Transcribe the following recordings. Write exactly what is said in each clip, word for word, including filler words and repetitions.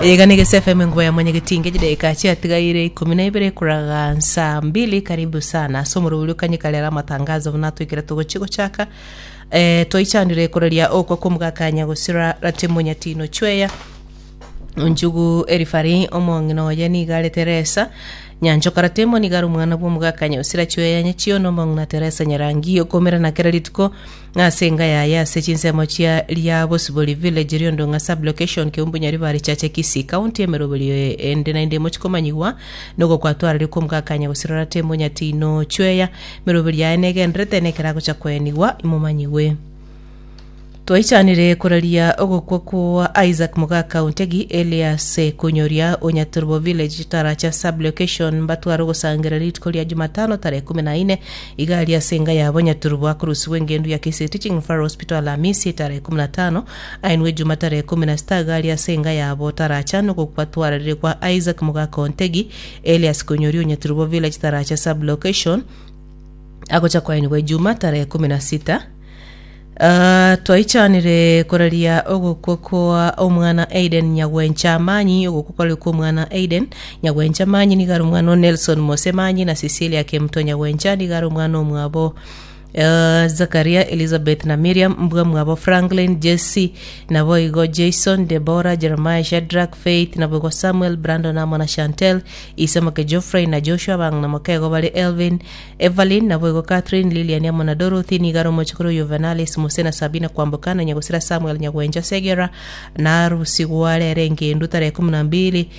Ega ni Gese F M, nguva ya mwenyekiti. Dakika chiatigaire ikumi na ibere kuraga saa mbili. Karibu sana so muruburi ukanyikalera matangazo bunatwikira tugochigochaka. eh twaichanire kureria okwa kumugakanya gusira Ratemo Nyatino Chweya Njugu Erifari omong'ina oye nigare Teresa Nyanchoka Ratemo nigare omwana bwa omogakanya osira Chweya Nyachio na omong'ina Teresa Nyarangi okomera na kera rituko ase enga yaye ase chinsemo chia ria Bosibori village, Riondong'a sub-location, Keumbu, Nyaribari Chache, Kisii County. Emeroberi ende naende mochikomanyigwa nogo kwatwarire kwomogakanya gosira Ratemo Nyatino Chweya. Emeroberi yaye negenderete nekera gocha kwenigwa imomanyiwe. Twaichanire kuraria ogokwa kwa Isaac Mugaka Ontegi Elias Kunyoria Onyaturbo village, Taracha sub-location. Mbatwara ogosangira rituko ria Jumatano tarehe kumi na ine igari ase enga yabo Nyaturbo. Akurusiwa engendu ya Kisii Teaching Referral Hospital Alhamisi tarehe kumi na tano, ainwe Juma tarehe kumi na sita igari ase enga yabo Taracha. Nogokwa twararire kwa Isaac Mugaka Ontegi Elias Kunyoria Onyaturbo village, Taracha sub-location, agocha kwainigwa Juma tarehe kumi na sita. Uh, twaichanire kuraria ogokwa kwa omwana Aiden Nyagwencha Manyi. Ogokwa kwari kwa omwana Aiden Nyagwencha Manyi nigari omwana o Nelson Mosemanyi na Cecilia Kemto Nyagwencha, nigari omwana omwabo Uh, Zakaria, Elizabeth na Miriam, mbwa mwabo Franklin, Jesse, naboigo Jason, Deborah, Jeremiah, Shadrack, Faith, naboigo Samuel, Brandon amo na Chantel, Isamake, Geoffrey na Joshua. Bang na makego bari Elvin, Evelyn, naboigo Catherine, Lilian amo na Dorothy. Nigaro mochikuru Juvenalis Muse na Sabina Kwambukana. Nyagusira Samuel Nyagwenja Segera na rusigwa rere ngendu tarehe kumi na mbili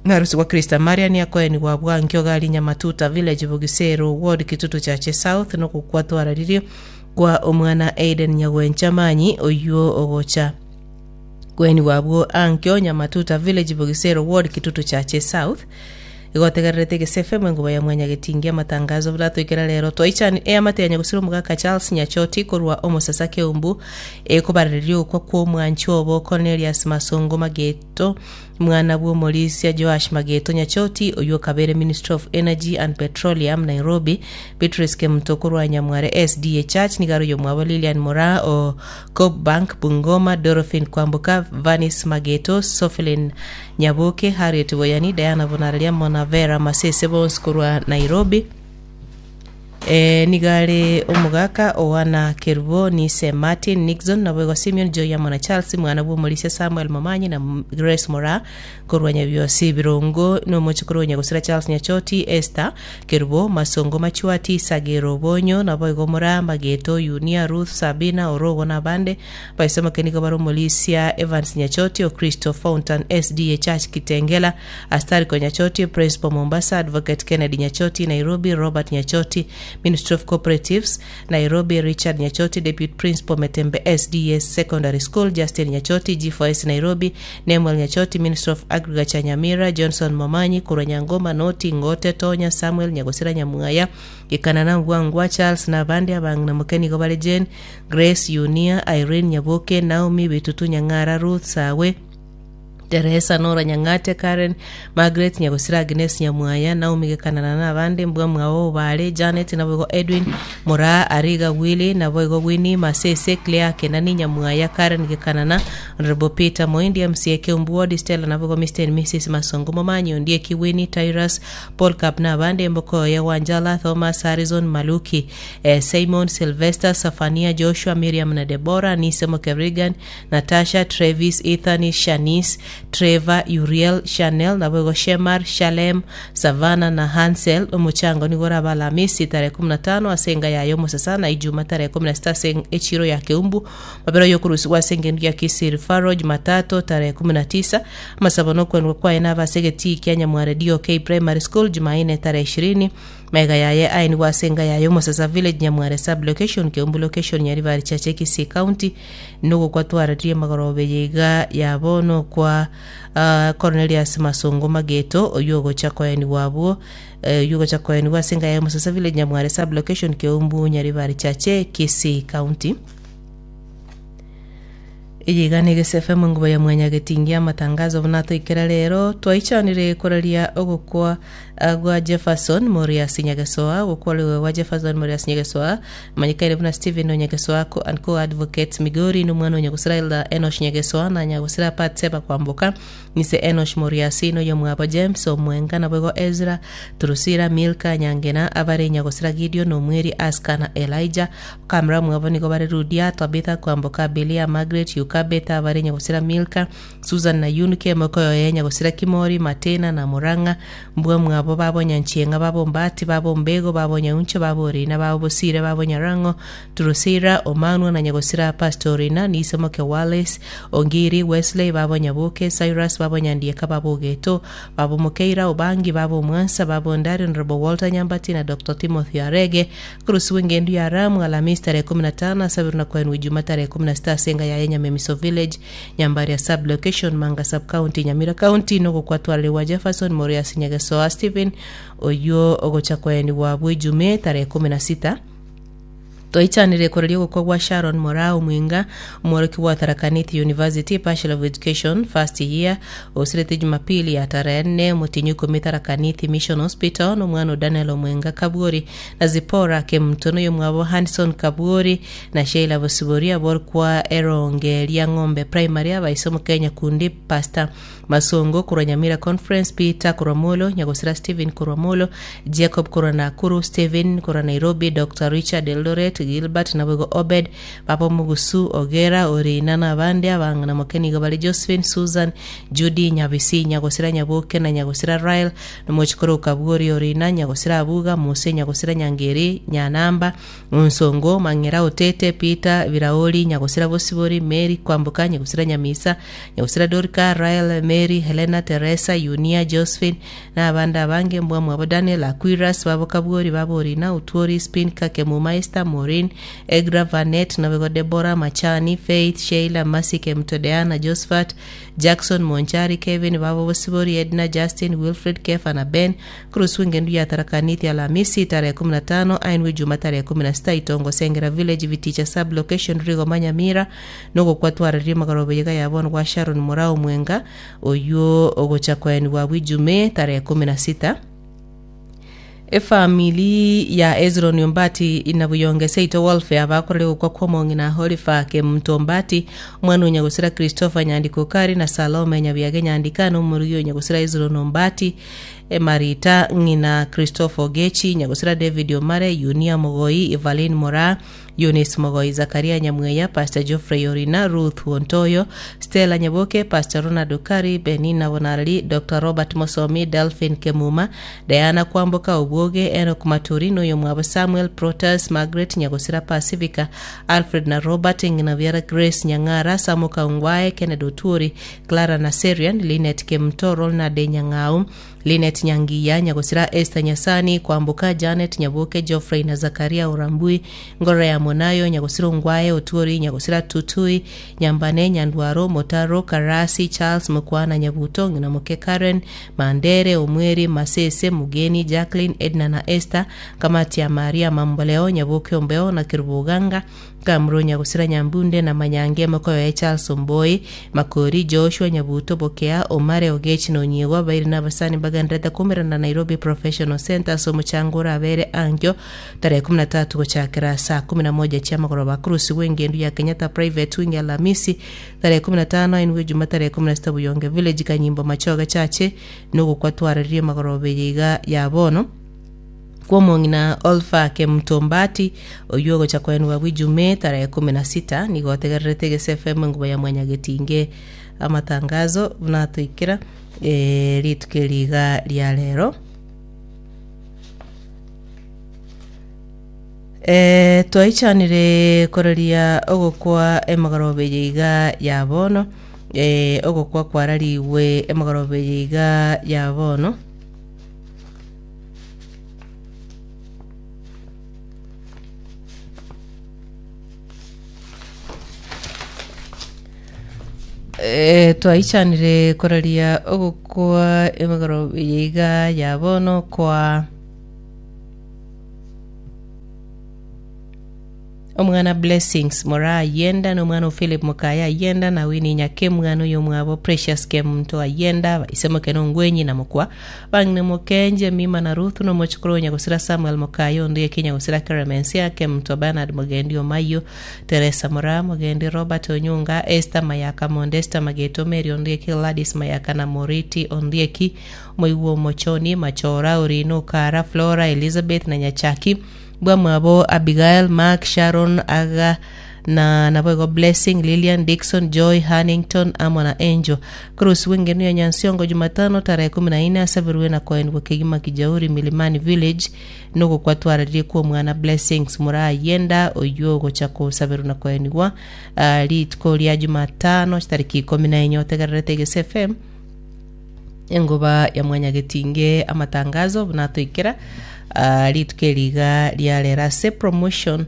narusi kwa Krista Marian akoeni wa bwankio gali Nyamatuta village, Bugisero ward, Kitutu Chache South. Nokukwatwararirio kwa omwana Aiden Nyagwencha Manyi oyuo ogocha kweni wabwo ankio Nyamatuta village, Bugisero ward, Kitutu Chache South. Igotegererete Gese F M, enguba ya mwanyagetingi, amatangazo buratwikira rero. Twaichani eamate gusira omogaka Charles Nyachoti korwa omosasa Keumbu ekobarereria okwa kwa omwanchi obo Cornelius Masongo Mageto, mwana bwa omorisia Joash Mageto Nyachoti oyo kabere Minister of Energy and Petroleum, Nairobi. Beatrice Kemuto korwa Nyamware S D A Church nigaro yo mwabo Lilian Mora o Coop Bank Bungoma, Dorothy Kwambuka, Vanis Mageto, Sophilin Nyaboke, Harriet Boyani, Diana Bonararia Mona Vera Masese bons korwa Nairobi. E, nigare omogaka owana Kerubo nise Martin Nixon naboigo Simeon Joy amo na Charles, mwana bwa omorisia Samuel Momanyi na Grace Mora korwa Nyabiosi Birongo nomochikoro Nyagosira Charles Nyachoti, Esther Kerubo, Masongo Machuati, Sagero Bonyo, naboigo Mora Mageto, Yunia, Ruth, Sabina Orogo na bande baisema nigo bari omorisia Evans Nyachoti o Christo Fountain S D A Church Kitengela, Astariko Nyachoti, Principal Mombasa, Advocate Kennedy Nyachoti, Nairobi, Robert Nyachoti, Ministry of Cooperatives, Nairobi, Richard Nyachoti, Deputy Principal Metembe S D S Secondary School, Justin Nyachoti, G four S Nairobi, Nemuel Nyachoti, Minister of Agriculture Nyamira, Johnson Momanyi korwa Nyangoma, Noti Ngote, Tonya Samuel Nyagosira Nyamwaya Ikanana Ngwangwa Charles na abandi abang'ina mokenigo bare Jane Grace, Yunia, Irene Nyaboke, Naomi Bitutu, Nyang'ara Ruth, Sawe Teresa, Nora Nyang'ate, Karen Margaret Nyagosira, Agnes Nyamwaya, Naomi Gekanana na abande mbwa mwao bale Janet naboigo Edwin Mora, Ariga Willy, naboigo Winnie Masese, Claire Kenani Nyamwaya, Karen Gekanana, Honorable Peter Moindi, M C A Keumbu Ward, Stella naboigo Mister and Missus Masongo Momanyi, Ondie Kiwini, Tyrus Paul Cap na abande Mbokoya Wanjala, Thomas Harrison Maluki, eh, Simon Sylvester, Safania Joshua, Miriam na Deborah Nisemo, Kevrigan, Natasha, Travis, Ethan, Shanice, Trevor, Uriel, Chanel naboigo Shemar, Shalem, Savana na Hansel. Omuchango nigo oraba Alamisi tarehe kumi na tano ase enga yayo Musasa na Ijuma tarehe kumi na sita ase echiro ya Keumbu. Mabero yokurusigwa ase engendu ya Kisii Referral Jumatatu tarehe kumi na tisa. Amasabo nokwendwa kwaye nabasegeti kia Nyamware D O K Primary School Jumanne tarehe ishirini. Mega yaye aini ase enga yayo Musasa village, Nyamware sub location, Keumbu location, Nyaribari Chache, Kisii County. Nugo kwatwararirie magorobe yiga yabo nokwa uh, Cornelius Masongo Mageto oyo ogocha koeni wabwo uh, yugocha koeni ase enga yayo Musasa village, Nyamware sub location, Keumbu, Nyaribari Chache, Kisii County. Iyigana Gese F M, nguba ya mwanyagetingia amatangazo bunatoikera rero. Twaichanire koraria ogokwa ah, gwa Jefferson Morias Nyagesoa. Gokwariwe gwa Jefferson Morias Nyagesoa, manyikaire buna Stephen Onyagesoa co and co advocate Migori, nomwana onyagosira Elda Enosh Nyagesoa na nyagosira Patseba Kwamboka, nise Enosh Morias, noyo mwabo James Omwenga, nabwego Ezra Turusira, Milka Nyangena, abare nyagosira Gideon Omweri, Aska na Elijah kamera mwabo nigo bare Rudia, Tabitha Kwamboka, Belia, Margaret Yukabeta, abare nyagosira Milka, Susan na Yunike mokoyo ye nyagosira Kimori, Matena na Murang'a, mbwa mwabo babo Nyanchieng'a, babo Mbati, babo Mbego, babo Nyauncho, babo Orina, babo Bosire, babo Nyarango, Turusira Omanwa na nyagosira Pastorina, Nisemoke, Wallace Ongiri, Wesley, babo Nyabuke, Cyrus, babo Nyandieka, babo Geto, babo Mukeira Obangi, babo Mwansa, babo Ndari, Honorable Walter Nyambati na Doctor Timothy Arege. Kurusiwe ngendu ya Ramu Alhamisi tarehe kumi na tano sabiru na kwenu Ijumaa tarehe kumi na sita senga ya Nyamemiso Village, Nyambaria sub location, Manga sub county, Nyamira County. Nogokwatwariwa Jefferson Morias Nyagesoa Stephen oyo ogocha kweni wa bwijume tarehe kumi na sita. Twaichanire koreria gukwa gwa Sharon Morao Mwinga, omworoki wa Tharaka Nithi University Bachelor of Education first year, osirete Jumapili ya tarehe nne mutinyu ikumi Tharaka Nithi Mission Hospital, nomwana Daniel Omwenga Kabwori na Zipora Kemtono, yomwabo Hanson Kabwori na Sheila Bosibori, aborokwa Eronge ria Ng'ombe Primary, abaisomo Kenya kundi Pastor Masongo kurwa Nyamira Conference, Peter kurwa Molo, nyagosira Stephen kurwa Molo, Jacob kurwa Nakuru, Stephen kurwa Nairobi, Doctor Richard Eldoret, Gilbert nabwego Obed, Papa Mugusu Ogera Orina na abandi abang'ana mokenigo bari Josephine, Susan, Judy Nyabisi, nyagosira Nyaboke na nyagosira Rael, nomochikoro Kabwori Orina, nyagosira Abuga Muse, nyagosira Nyangeri Nyanamba Nsongo Mang'era Otete, Peter Biraoli, nyagosira Bosibori, Mary Kwamboka, nyagosira Nyamisa, nyagosira Dorika, Rael, Mary, Helena, Teresa, Yunia, Josephine na abandi abange, mbwa mwabo Daniel Aquiras, babo Kabwori, babo Orina Utwori, Spin Kakemuma, Esther, Maureen, Egra, Vanet nabego Debora Machani, Faith, Sheila, Masike Mtodeana, Josephat, Jackson Monchari, Kevin, babo Bosibori, Edna, Justin, Wilfred, Kefa na Ben. Kurusu ngendu ya Tharakanithi Alhamisi tarehe kumi na tano ainwe Juma tarehe kumi na sita Itongo Sengera Village, Viticha sub location, Rigo Manyamira. Nogokwatwararia magarobo yega yabon gwa Sharon Murao Mwenga oyo ogocha kweni wa wijume tarehe kumi na sita. Efamili ya Ezron Ombati inabuyonge seito welfare bakorere gukwa kwomong'ina Holifa Kemunto Ombati, omwana onyagosira Christopher Nyandiko Kari na Salome Nyabiage Nyandika, na omorugi onyagosira Ezron Ombati, Marita ng'ina Christopher Ogechi, nyagosira David Omare, Yunia Mogoi, Evelyn Mora, Eunice Mogoi, Zakaria Nyamweya, Pastor Geoffrey Orina, Ruth Wontoyo, Stella Nyaboke, Pastor Ronald Okari, Benina Bonarali, Doctor Robert Mosomi, Delphin Kemuma, Diana Kwamboka Obwoge, Enoch Maturi, noyo mwabo Samuel Protas, Margaret Nyagosira Pacifica, Alfred na Robert Nginaviara, Grace Nyang'ara, Samuka Ungwae, Kennedy Oturi, Clara Naserian, Linet Kemto, Ronald Nyang'au, Linet Nyangiya, Nyagosira Esther Nyasani Kwambuka, Janet Nyaboke, Geoffrey na Zakaria Urambui, Ngora ya Monayo, Nyagosira Ungwae Oturi, Nyagosira Tutui Nyambane, Nyandwaro Motaro, Karasi Charles Mukwana, Nyabuto Nginamuke, Karen Mandere, Omweri Masese, Mugeni Jacqueline, Edna na Esther, kamati ya Maria Mamboleo, Nyaboke Ombeo na Kirubuganga Kamro, Nyagosira Nyambunde na Manyange mokoyo ya Charles Omboi, Makori Joshua Nyabuto, Bokea Omare Ogechi na Onyiegwa bairi na abasani bagandrete kumerana Nairobi Professional Center. So muchango urabere angyo tarehe kumi na tatu gochakera saa kumi na moja chia magoroba. Kurusi wengendu ya Kenyatta Private Wing Alhamisi tarehe kumi na tano ainwe Juma tarehe kumi na sita Buyonge Village, Kanyimbo Machoga Chache nugukwatwarĩrie magoroba yiga ya bono kwomong'ina Olfa Kemtombati oyo gocha kwenwa bwijume tarehe kumi na sita. Nigotegererete Gese F M, nguba ya mwanyagetinge amatangazo bunatoikera e, rituko riga ria rero. E, twaichanire koreria ogokwa emagorobe yiga ya bono, e, ogokwa kwarariwe emagorobe yiga ya bono. E, twaichanire koraria ogokwa emegoro yiga ya bono kwa Omwana Blessings Mora Ayenda na omwana o Philip Mokaya Ayenda na Winnie Nyake mwana oyo omwabo Precious Kemunto Ayenda ise moke na Ongwenyi na Mokwa bang'ina Mokenje Mima na Ruth na omochokoro Nyagosira Samuel Mokaya onde eke Nyagosira Keremensia Kemunto Bernard Mogendi Omayo Teresa Mora Mogendi Robert Onyunga Esther Mayaka Mondesta Mageto Mary Ondieki Gladys Mayaka na Moriti Ondieki Moigwa Omochoni Machora Orino Kara Flora Elizabeth na Nyachaki bwamwabo Abigail Mark Sharon Aga na naboigo Blessing Lilian Dixon Joy Hannington amo na Angel Cruz wengenu ya Nyansiongo Jumatano tarehe kumi na nne asabirwe na koendwa kegima Kijauri Milimani Village nugo kwatwararirie kwa omwana Blessings Murayenda oyo ogocha kosabirwa na koenigwa uh, rituko ria Jumatano tariki ikumi na enye otegererete Gese F M engoba ya mwanyagetinge amatangazo bunatoikera uh, rituko eriga riarera se promotion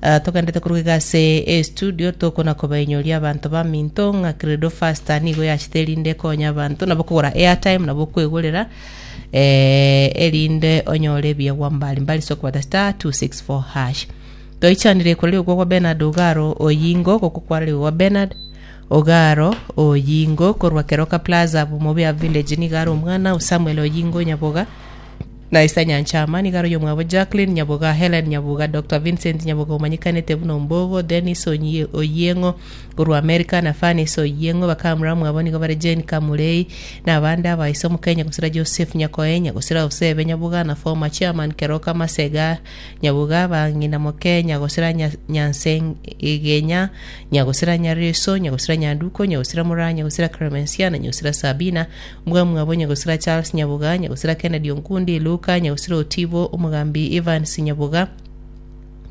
uh, tokendete kuruga ase e studio tokona kobainyoria abanto ba minto ng'a Credo Faster nigo yachiterinde konya abanto nabo kogora airtime nabo kwegorera eh, erinde onyore ebiegwa mbali mbali sokobata star two six four hash toichanire koreri okwo kwa Bernard Ogaro Oyingo gokokwareri gwa Bernard Ogaro Oyingo korwa Keroka Plaza Bumobia Village nigaro omwana Samuel Oyingo Nyaboga na Isa Nyanchama nigaro yomwabo Jacqueline Nyaboga Helen Nyaboga Doctor Vincent Nyaboga omanyikanete buno Mbogo Dennis Onye Oyengo korwa America na Fanis Oyengo bakamura mwabo nigo bare Jane Kamurei na abande abaise omu Kenya gusira Joseph Nyakoe gusira Osebe Nyaboga na former chairman Keroka Masega Nyaboga bang'ina mu Kenya gusira Nyanseng Igenya Nyagusira Nyareso Nyagusira Nyanduko Nyagusira Muranya Nyagusira Clemencia na Nyagusira Sabina mbwa mwabo Nyagusira Charles Nyaboga Nyagusira Kennedy Onkundi Luka Nyagusira Otibo Omugambi Evans Nyaboga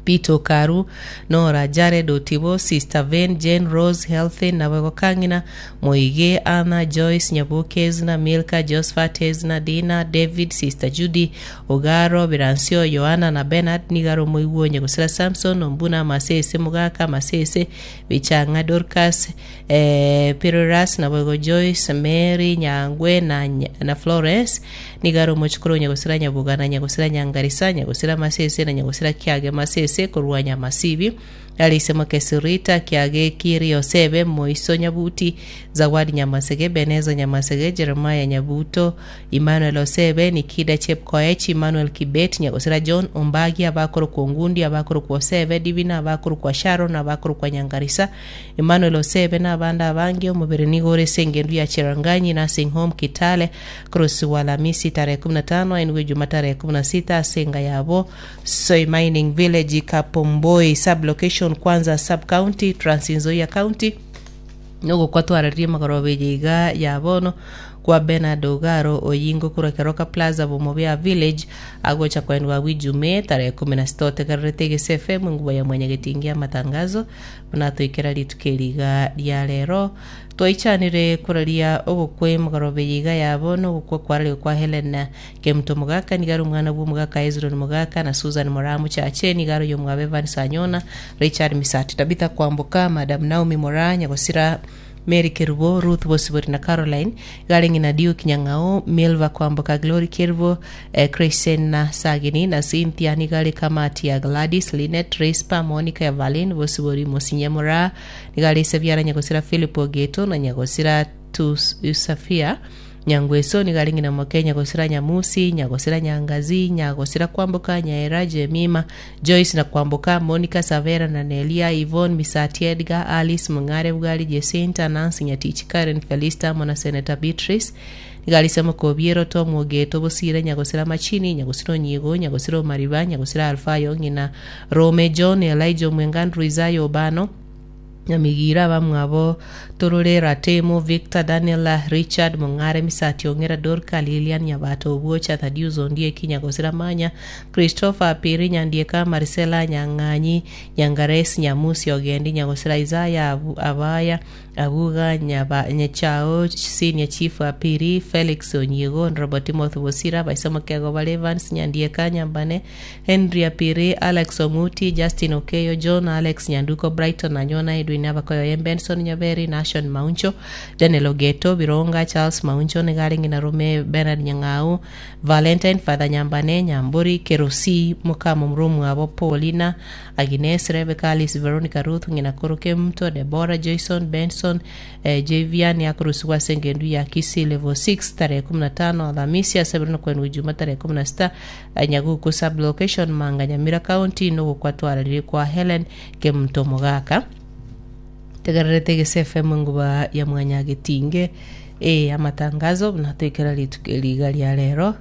Peter Karu Nora Jared Otibo Sister Vane Jane Rose Healthy nabego Kangina Moige Anna Joyce Nyaboke Ezna Milka Josephat Ezna Dina David Sister Judy Ogaro Biransio Yohana na Bernard Nigaro Moiguo Nyagusira Samson Ombuna Masese Mugaka Masese Bichanga Dorcas eh, Piroras nabego Joyce Mary Nyangwe na, na Florence Nigaro Mochukuru Nyagusira Nyabuga na Nyagusira Nyangarisa Nyagusira Masese na Nyagusira Kiage Masese korwa Nyamasibi alisema Kesirita Kiage Kiri Osebe Moiso Nyabuti Zawadi Nyamasege Beneza Nyamasege Jeremiah Nyabuto Emmanuel Osebe Nikida Chepkoech Emmanuel Kibet Nyagosira John Ombagi abakoro kwa Ngundi abakoro kwa Osebe Divina abakoro kwa Sharon abakoro kwa Nyangarisa Emmanuel Osebe na abanda abangi omubere nigore sengendu ya Cheranganyi Nursing Home Kitale Cross Walamisi tarehe kumi na tano enwe Juma tarehe kumi na sita senga yabo Soy Mining Village Kapomboi sub location Kwanza sub county Trans Nzoia County nugo kwatwararirie magorobe yiga ya bono kwa Bernard Ogaro Oyingo kurwa Keroka Plaza Bumobia Village agocha kwendwa wijume tarehe kumi na sita otegererete Gese F M nguba ya mwenyegetingia matangazo bunatoikera rituko ria rero twaichanire kuraria ogokwe magorobe yiga yabo nogokwa kwarari kwa Helen Kemuto Mugaka nigaro omwana bwo Mugaka Ezron Mugaka na Susan Moramu Chache nigaro yomwabe Evan Sanyona Richard Misati Tabitha Kwamboka Madam Naomi Moranya gosira Mary Kerubo Ruth Bosibori na Caroline garengi na Duke Nyang'ao Milva Kwamboka Glory Kerubo eh, Kristen na Sagini na Cynthia nigale kamati ya Gladys Linet Rispa Monica Evelyn Bosibori Musinyamura nigale Seviara Nyagosira Philip Ogeto na Nyagosira Tusafia Nyangweso nigaringi na Mokenya Nyagosira Nyamusi Nyagosira Nyangazi Nyagosira Kwamboka Nyaera Jemima Joyce na Kwamboka Monica Savera na Nelia Yvonne Misati Edgar Alice Mungare Bugari Jacinta Nancy Nyatichi Karen Felista Mona Senator Beatrice nigarisemo Kobiero Tom Ogeto Bosire Nyagosira Machini Nyagosira Onyigo Nyagosira Mariba Nyagosira Alfayo ngina Rome John Elijah Mwengandru Isayo Obano Nyamigira bamwabo Torore Ratemo Victor Daniela Richard Mongare Misati Ongera Dorka Lilian Nyabato Obuocha Thadius Ondieki Nyagosira Manya Christopher Piri Nyandieka Marcela Nyang'anyi Nyangares Nyamusi Ogendi Nyagosira Isaya Abu, Abaya Abuga Nyaba Nyechao Senior Chief Apiri Felix Onyigo Robert Timothy Bosira Baisamo Kego Evans Nyandieka Nyambane Henry Apiri Alex Omuti Justin Okeyo John Alex Nyanduko Brighton Anyona Edwin Abakoyo Benson Nyaberi Nashon Nashon Mauncho, Daniel Ogeto, Bironga, Charles Mauncho, niga arenge na Rome Bernard Nyang'au, Valentine Father Nyambane, Nyambori, Kerosi, Mukamo Mromwabo, Paulina, Agnes, Rebecca, Alice, Veronica, Ruth, ng'ina koro Kemto, Deborah, Jason, Benson, eh, Javian, yakorusigwa ase engendu ya Kisii level six tarehe kumi na tano Alhamisi ase ebiro nokwendwa Ijuma tarehe kumi na sita eh, Nyaguku sub location Manga Nyamira County nogokwatwararire kwa Helen Kemto Mogaka. Tegererete Gese F M nguba ya Mwanyagetinge e amatangazo buna toikera rituko riga ria rero.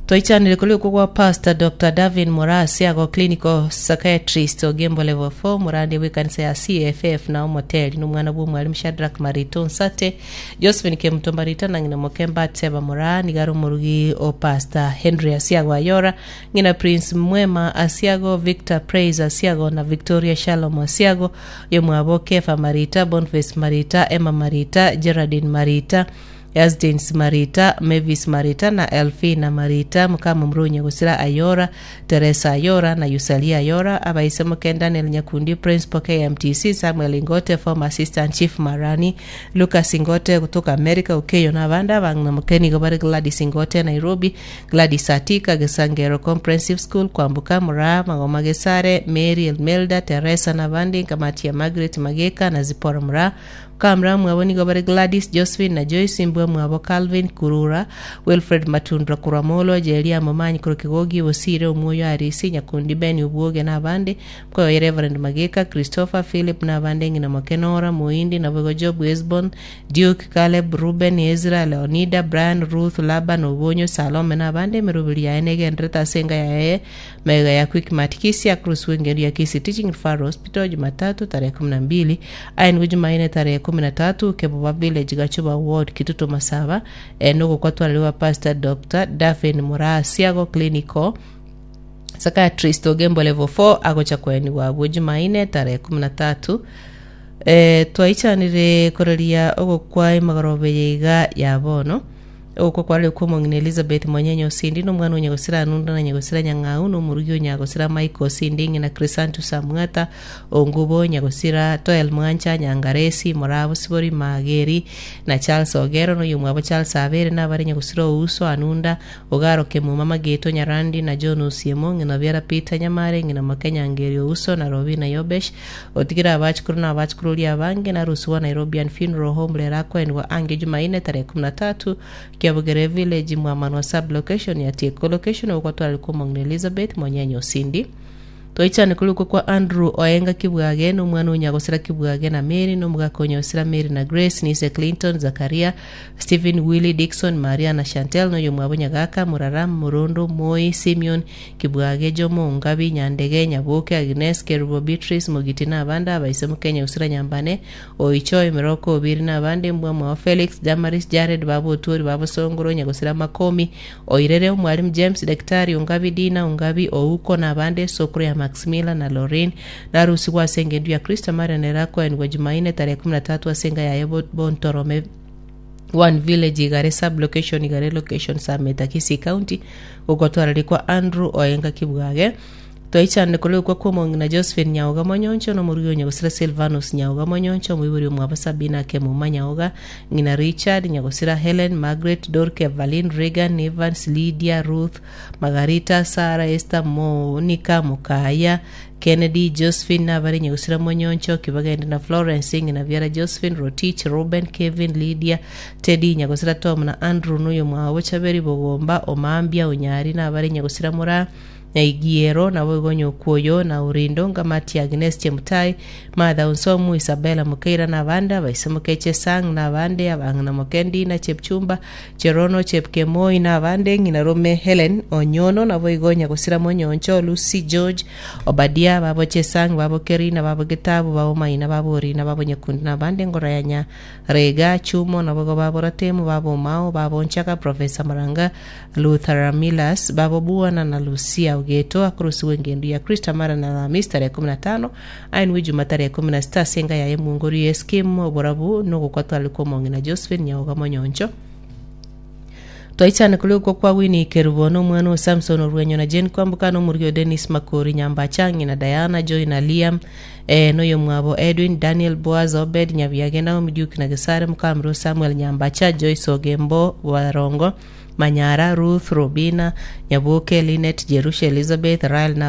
Twaichanire kuri uko gwa Pastor Doctor Davin Morasi ago clinical psychiatrist Ogembo level four murandi w'ikanisa ya C F F na omoteli n'umwana bw'umwalimu Shadrack Marito Nsate, Josephine Kemuto Marita na ng'ina Mokemba Tseba Mora nigari omurugi o Pastor Henry Asiago Ayora, ng'ina Prince Mwema Asiago, Victor Praise Asiago na Victoria Shalom Asiago, yomwabo Kefa Marita, Boniface Marita, Emma Marita, Geraldine Marita, Yasdins Marita, Mavis Marita na Elfina Marita, mukama mrunye gusira Ayora, Teresa Ayora na Yusalia Ayora, abaise moke Daniel Nyakundi, Principal K M T C, Samuel Ingote, former Assistant Chief Marani, Lucas Ingote kutoka America, Ukeyo na abanda bang'ina mokeni gobare Gladys Ingote Nairobi, Gladys Atika Gesangero Comprehensive School, Kwambuka Mura, Magoma Gesare, Mary Elmelda, Teresa na abandi, Nkamati ya Margaret Mageka na Zipora Mura, kamra mwabo nigo bari Gladys, Josephine na Joyce, mbwa mwabo Calvin Kurura, Wilfred Matundra Kuramolo, Jeria Momanyi Kurukigogi Bosire, Omwoyo Arisi Nyakundi, Ben Ubwoge n'abandi, mkoyo Reverend Mageka, Christopher Philip n'abandi, ng'ina Mokenora Muindi na Bogo Job Wesbon, Duke Caleb, Ruben, Ezra, Leonida, Brian, Ruth, Laban Obonyo, Salome n'abandi. Emeroberi yaye negenderete ase enga yaye mega ya Quickmart Kisi across wengeri ya Kisi Teaching Referral Hospital Jumatatu tarehe kumi na mbili aengu Jumanne tarehe kumi na tatu Keboba Village, Gachuba Ward, Kitutu Masaba e, nogokwatwaririwa Pastor Doctor Davin Murasiago clinical psychiatrist Ogembo level four agocha kweni wabwo Jumanne tarehe kumi na tatu. e, twaichanire koreria ogokwa emagorobe yaiga ya bono. Ogokwa kwarire kwa omong'ina Elizabeth Monyenye Osindi nomwana onyagosira Anunda na nyagosira Nyang'au nomorugi onyagosira Michael Osindi, ng'ina Crisantus Amwata Ongubo, nyagosira Toel Mwancha Nyangaresi Morabo Sibori Mageri na Charles Ogero noyo mwabo Charles Abere nabare nyagosira Ouso Anunda Ogaro Kemuma Mageto Nyarandi na John Osiemo, ng'ina Biara Peter Nyamare, ng'ina Makenya Ngeri Ouso na Robina Yobesh otigira abachukuru na abachukuru ria abange na rusuwa Nairobian Funeral Home rera kwendwa ange Jumaine tarehe kumi na tatu Kiabugere Village, Mwamanwa sub location ya Tieko location okwatwara kumong'ina Elizabeth Monyenye Osindi. Toichane kuri kwa Andrew Oenga Kibwage n'omwana onyagosera Kibwage na Mary n'omugaka onyagosera Mary na Grace Nise Clinton Zakaria Stephen Willy Dixon Maria na Chantel n'oyo mwabo Nyagaka Murara Murondo Moi Simeon Kibwage Jomo Ngabi Nyandege Nyaboke Agnes Kerubo Beatrice Mugiti n'abandi abaise Mukenya usira Nyambane Oicho Emiroko Obiri n'abandi mbwa mwabo Felix Damaris Jared babo Oturi babo Songoro nyagosera Makomi Oirere Omwalimu James Daktari Ungabi Dina Ungabi Ouko n'abandi sokuru ya Maximila na Lorin narusi gwasenga endu ya Kristo Maria nerakwaenigwa Jumaine tarehe kumi na tatu asenga yaye Bontorome one village, Igare sub location, Igare location, Sameta, Kisii County gukotwarari kwa Andrew Oenga Kibwage. Twaichane kuri ukwo kwomong'ina Josephine Nyauga Monyoncho nomorugi onyagosira Silvanus Nyauga Monyoncho omoibori omwabo Sabina Kemuma Nyauga, ng'ina Richard nyagosira Helen Margaret Dorke Evelyn Regan Evans Lydia Ruth Margarita Sara Esther Monica Mukaya Kennedy Josephine nabari nyagosira Monyoncho Kibagende na Florence, ng'ina Biara Josephine Rotich Ruben Kevin Lydia Teddy nyagosira Tom na Andrew nuyo mwabo Chaberi Bogomba Omambia Onyari nabari nyagosira Mura Nyaigiero nabo igonyo kuoyo na Urindo Ngamati Agnes Chemutai Martha Unsomu Isabella Mukeira nabanda baisemuke Chesang nabande abang'ina Mokendi na Chepchumba Cherono Chepkemoi nabande ng'ina Rome Helen Onyono nabo igonya gosira Monyoncho Lucy George Obadia babo Chesang babo Kerina babo Gitabu babo Maina babo Orina babo Nyakundi nabande ngora ya Nyarega Chumo nabo babo Ratemu babo Mao babo Nchaka Professor Maranga Luther Milas babo Buana na Lucia Ogeto akurusiwe engendu ya Krista mara na Alhamisi tarehe kumi na tano ainwe Juma tarehe kumi na sita senga yaye mungori yeskim oborabu nogokwatwara komong'ina Josephine Nyaoga Monyoncho. Twaichane kuri uko kwa Winnie Kerubo no mwana wa Samson Orwenyo na Jane Kwambuka no murio Dennis Makori Nyambachangi na Diana Joy na Liam, eh, noyo mwabo Edwin Daniel Boaz Obed Nyabiage Naomi Duke na Gesare Mukamro Samuel Nyambacha Joyce Ogembo Warongo Manyara Ruth Robina Nyabuke Linet Jerusha Elizabeth Rael na